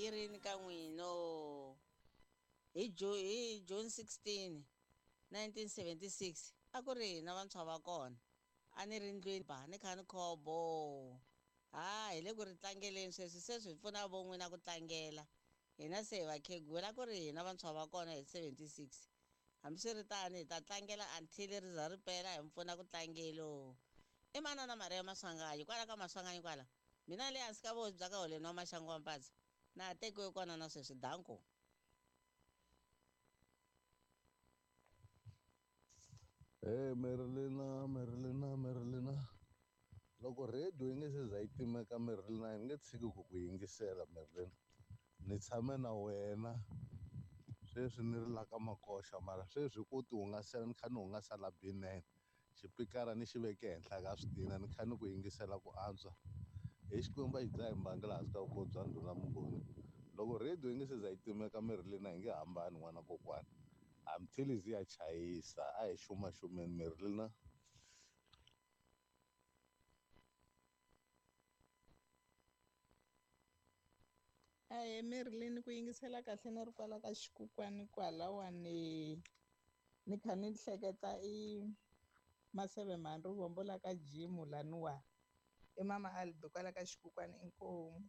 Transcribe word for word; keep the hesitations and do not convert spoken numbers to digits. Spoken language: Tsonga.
yi rini ka n'wino hi hi June sixteen nineteen seventy-six a ku ri hina vantshwa va kona a ni ri ndlwini ba ni kha ni khobo ha hi le ku ri tlangeleni sweswi se swi pfuna vo n'wina ku tlangela hina se hi vakhegula ku ri hina vantshwa va kona hi seventy-six hambiswiritano hi ta tlangela until ri za ri pela hi mpfuna ku tlangelo i manana Maria Maswanganyi kwala ka Maswanganyi kwala mina le hansi ka vosi bya ka holeni wa Maxangu wa Mpatsa na ha tekiwe kona na sweswi danko. Hey Merilina, Merilina, Merilina. Loko radio yi nge se za yi timeka Merilina yi nge tshiki ku ku yingisela Merilina. Ni tshame na wena sweswi ni ri la ka Makoxa mara sweswi ku ti hungasela ni kha ni hungasela B nine xipikara ni xi veke henhla ka switina ni kha ni ku yingisela ku antswa. Hi Xikwembu a xi dzahi mbangi laha hansi ka vukoti bya ndhuna Mnguni. Loko radio yi nge se za yi timeka Merilina hi nge hambani n'wana kokwana. Until zi ya chayisa a hi xumaxumeni Merilina. Ahee Merilini ku yingisela kahle ni ri kwala ka xikukwani kwalawani ni kha ni hleketa i Maseve Mhani Rivombo la ka jimu laniwa i mama Albi kwala ka xikukwani inkomu.